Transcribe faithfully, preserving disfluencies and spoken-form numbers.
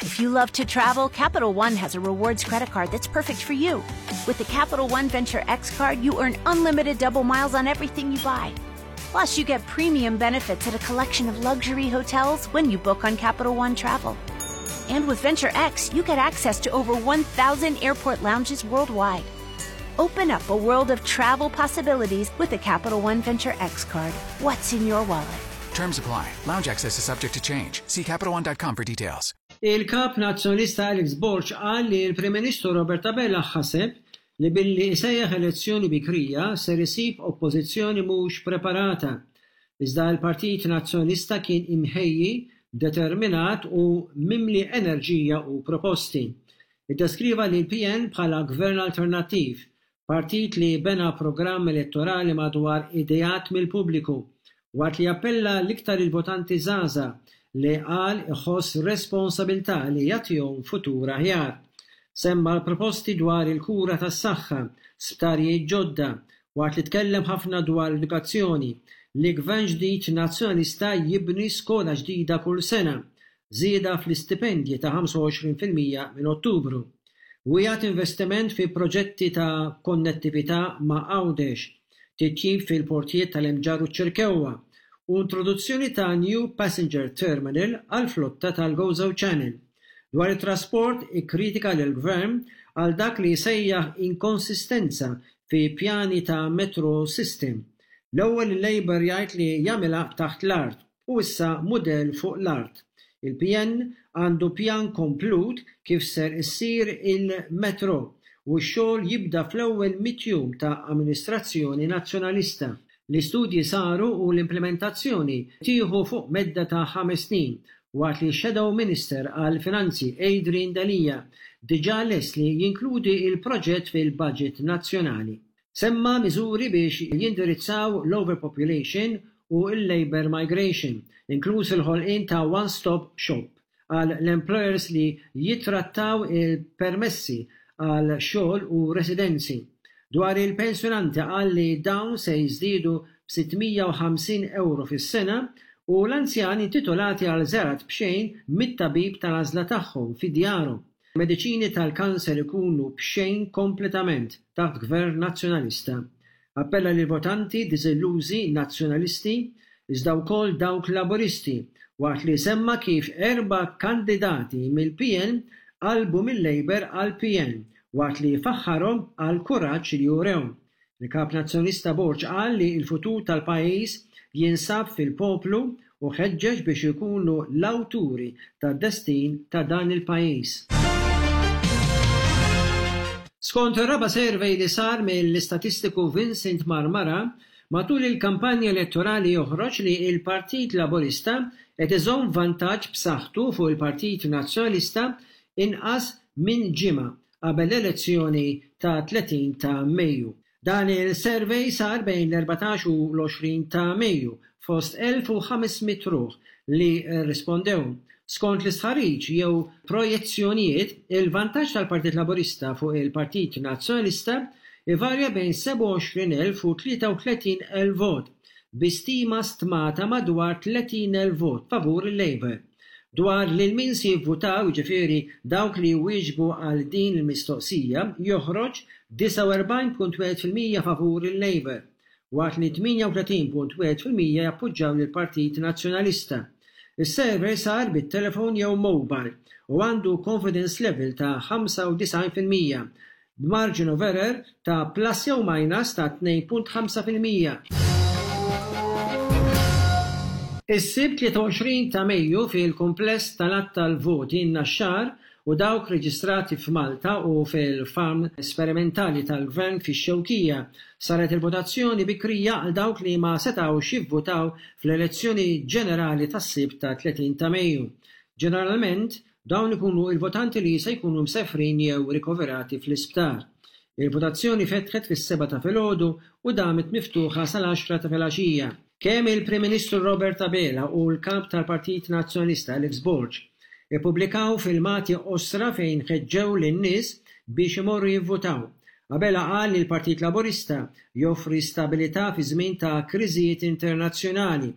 If you love to travel, Capital One has a rewards credit card that's perfect for you. With the Capital One Venture X card, you earn unlimited double miles on everything you buy. Plus, you get premium benefits at a collection of luxury hotels when you book on Capital One Travel. And with Venture X, you get access to over one thousand airport lounges worldwide. Open up a world of travel possibilities with the Capital One Venture X card. What's in your wallet? Terms apply. Lounge access is subject to change. See Capital One dot com for details. Il-kap Nazzjonalista Alex Borg qal li l-Prim Ministru Robert Abela ħaseb li billi isejjaħ elezzjoni bikrija ser isib oppożizzjoni mhux preparata. Iżda l-Partit Nazzjonalista kien imħejji, determinat u mimli enerġija u proposti. Iddeskriva lill-P N bħala gvern alternattiv, partit li bena programm elettorali madwar ideat mill-pubbliku, waqt li appella l-iktar il-votanti żgħażagħ li qal iħoss responsabilità li jagħtihom futur aħjar. Semma l-proposti dwar il-kura tas-saħħa, sptarijiet ġodda, waqt li tkellem ħafna dwar l-edukazzjoni, li gvern ġdid Nazzjonalista jibni skola ġdida kull sena, żieda fl-istipendji ta' ħamsa u għoxrin fil-mija minn Ottubru. Wiegħed investiment fi proġetti ta' konnettività ma' Għawdex, titjib fil-portijiet tal-Imġarr u Ċirkewwa, u introduzzjoni ta' New Passenger Terminal għal flotta tal-Gozo Channel. Dwar it-trasport, ikkritika lill-gvern għal dak li sejjaħ inkonsistenza fi pjani ta' metro system. L-ewwel il-Labour jgħid li jagħmilha taħt l-art u issa mudell fuq l-art. Il-P N għandu pjan komplut kif ser issir il-metro u x-xogħol jibda fl-ewwel mitt jum ta' amministrazzjoni Nazzjonalista. L-istudji saru u l-implementazzjoni tieħu fuq medda ta' ħames snin, waqt li Shadow Minister għal Finanzi Adrian Delia diġà lest li jinkludi il-proġett fil-budget nazzjonali. Semma miżuri biex jindirizzaw l-overpopulation u l-labor migration, inkluż il-ħolqien ta' one-stop shop għal l-employers li jitrattaw il-permessi għal xogħol u residenzi. Dwar il-pensjonanti, qal li dawn se jiżdiedu b'sitt mija u ħamsin euro fis-sena u l-anzjani intitolati għal żjarat b'xejn mit-tabib tal-għażla tagħhom fi djarhom. Mediċini tal-kanser ikunu b'xejn kompletament taħt gvern Nazzjonalista. Appella lil votanti diżillużi Nazzjonalisti iżda wkoll dawk Laboristi, waqt li semma kif erba' kandidati mill-P N qalbu mill-Labour għal P N, waqt li faħħarhom għal kuraġġ li jurew. Il-kap Nazzjonalista Borg qal li l-futur tal-pajjiż jinsab fil-poplu u ħeġġeġ biex ikunu l-awturi tad-destin ta' dan il-pajjiż. Skont ir-raba' survey li sar mill-istatistiku Vincent Marmara matul il-kampanja elettorali, joħroġ li il-Partit Laburista qed iżomm vantaġġ b'saħħtu fuq il-Partit Nazzjonalista inqas minn ġimgħa qabel l-elezzjoni ta' tletin ta' Mejju. Dan il-survey sar bejn l-erbatax u l-għoxrin ta' Mejju fost elf u ħames mitt ruħ li rispondew. Skont l-istħarriġ jew projezzjonijiet, il-vantaġġ tal-Partit Laburista fuq il-Partit Nazzjonalista ivarja bejn sebgħa u għoxrin elf u tlieta u tletin elf vot, bi stima stmata madwar tletin elf vot favur il-Labour. Dwar lil min se jivvutaw, jiġifieri dawk li wieġbu għal din il-mistoqsija, joħroġ disgħa u erbgħin punt wieħed fil-mija favur il-Labour, waqt li tmienja u tletin punt wieħed fil-mija jappoġġjaw lill-Partit Nazzjonalista. Is-survey sar bit-telefon jew mobile u għandu confidence level ta' ħamsa u disgħin fil-mija b'margin of error ta' plus jew minus ta' tnejn punt ħamsa fil-mija. Is-Sibt tlieta u għoxrin ta' Mejju, fil-kumpless tal-għadd tal-voti n-Naxxar u dawk reġistrati f'Malta u fil-farm sperimentali tal-Gvern fix-Xewkija, saret il-votazzjoni bikrija għal dawk li ma setgħux jivvutaw fl-elezzjoni ġenerali tas-Sibt ta' tletin ta' Mejju. Ġeneralment, dawn ikunu il-votanti li se jkunu msefrin jew rikoverati fl-isptar. Il-votazzjoni fetħet fis-sebgħa ta' filgħodu u damet miftuħa sal-għaxra ta' filgħaxija. Kemm il-Prim Ministru Robert Abela u l-kap tal-Partit Nazzjonalista Alex Borg ippubblikaw filmati qosra fejn ħeġġew lin-nies biex imorru jivvutaw. Abela qal li l-Partit Laburista joffri stabilità fi żmien ta' kriżijiet internazzjonali.